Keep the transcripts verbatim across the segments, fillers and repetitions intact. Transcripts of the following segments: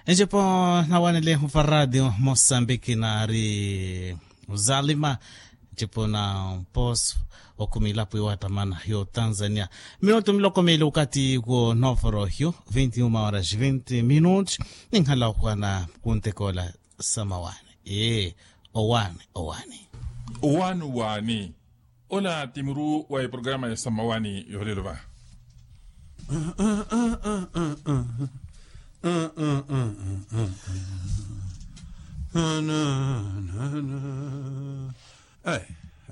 Ncipo nawanele mufaradi mosambiki nari uzalima. Ncipo na mpos okhumi ilapo iwattamana yo tanzania. Minutu miloko mili ukati kwo noforo hiyo vinti uma horas vinti minutu. Ninhala okhwana kuntekola samawani. Ee, owani owani. Owani owani. Ola ti muru wa eprograma ya samawani yolelo va. Ai,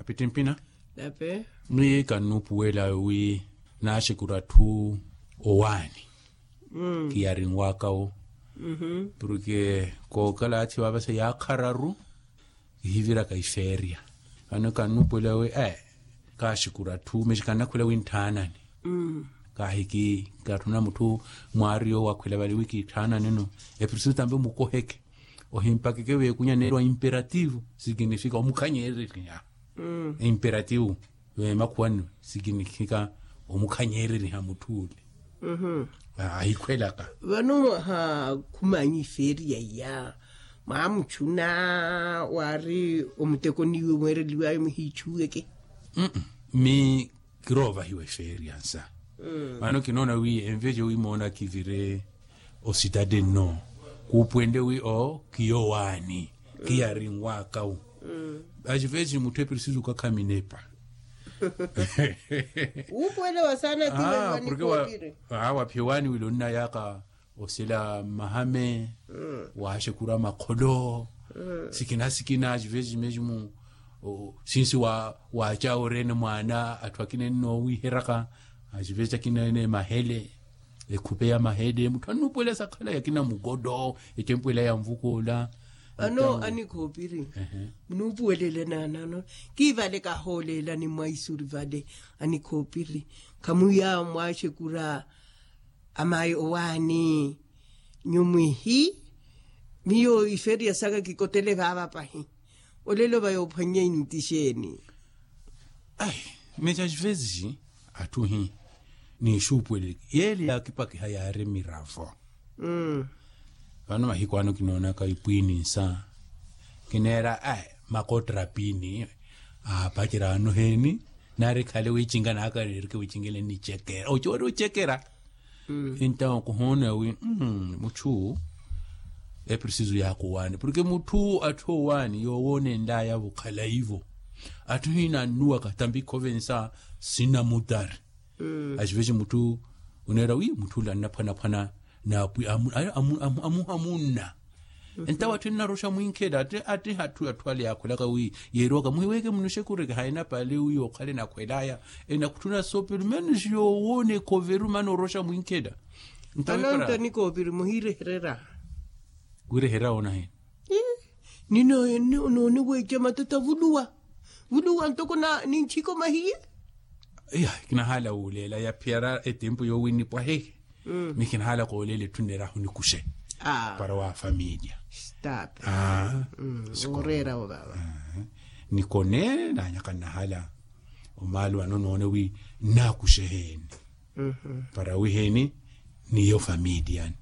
apiti mpina. Nape. Mwi kannupuwela wi naxekura atthu owani. Kiyarinwaka wo. Porke kookala athi vavasa yaakhararu. Kihiviraka iferia. Vano kannupuwela wi, kaxekura atthu mexi kannakhwela wi ntthaanani. Kaahiki katthuna mutthu mwaari yoowo akhwela vale wi kitthaanani-no. Eprisisu tampe mukoheke. Ohimpakeke veekunya neerwa imperativo sikinifika omukhanyeereriha. Imperativo veemakhuwani sikinifika omukhanyeereriha mutthu ole. Ahikhwelaka. Vano mwaha khumanyi feria iya mwamuchuna wari omutekoni iwe mweereliwayo muhiichuweke. Mi kiroovahiwa eferia nsa. Vano kinoona wi envejo wi moona kivire ositade nno kuupuwende wi o kiyowaani kiyarinwaka wu. Axivesi mutthu eprisisu kakha minepa. Wuupuwelewa saana tiwewani koopiri. Waphiwani wile onnayaka osela mmahame. Waaxekura makholo sikina sikina axivesi meximu. Sinsi waaca orene mwaana atthu akina ennoowiheraka. Axivesi akina ene mahele. Ekhupe ya mahele mutthu annupuwela sakhala yakina mukodo. Ettempuwela ya nvukoola. Ano anikhoopiri. Munuupuwelele naanano kiivale kahooleelani mwaisuri vale. Anikhoopiri khamuya mwaaxekura. Amayi owaani nyumwihi. Miyo iferiya saka kikotele vaava pahi. Olelo va yoophwannya inti xeeni? Ai, mexa xivesi atthu hi niixuupuwelele yeele yaakipakiha yaari miravo. Vano mahiku ano kinoonaka ipwiini nsa kineera ai makotra piini. Aapacerya ano heeni nari khale wiicinga naaka neerike wiicingele nicekera ocoori ocekera. Entawo kuhoona wi mutthu eprisisu yaakuwaani porke mutthu atthu owaani yoowoonenlaya vokhala ivo. Atthu hina annuwaka tambi khovensa sinamutari. Axivesi mutthu oneera wi mutthu ole annaphwanaphwana naapwi amunna. Entawo atthu ennaroxa mwinkhela atti atthu ale yaakhwelaka wi yeeriwaka muhiweke munuxekureke haina pale wi yookhale nakhwelaya. Enakutthuna sopelu menos yoowoona ekhoveru mana oroxa mwinkhela. Entawo anantta nikoopiri muhiireherera. Wireherya woona hina? Ninoone weeca matata vuluwa vuluwa ntoko ni nchiko mahiye. Iya kinahaala wuuleela yaphiyara etempu yoowinnipwahe. Mi kinahaala kooleela etthu nneerahu nikuxe para wa familya. Stop. Ooreera wo vaava. Nikone naanyaka nnahaala omaalo ano noone wi nnaakuxe heeni para wi heeni niyo familya.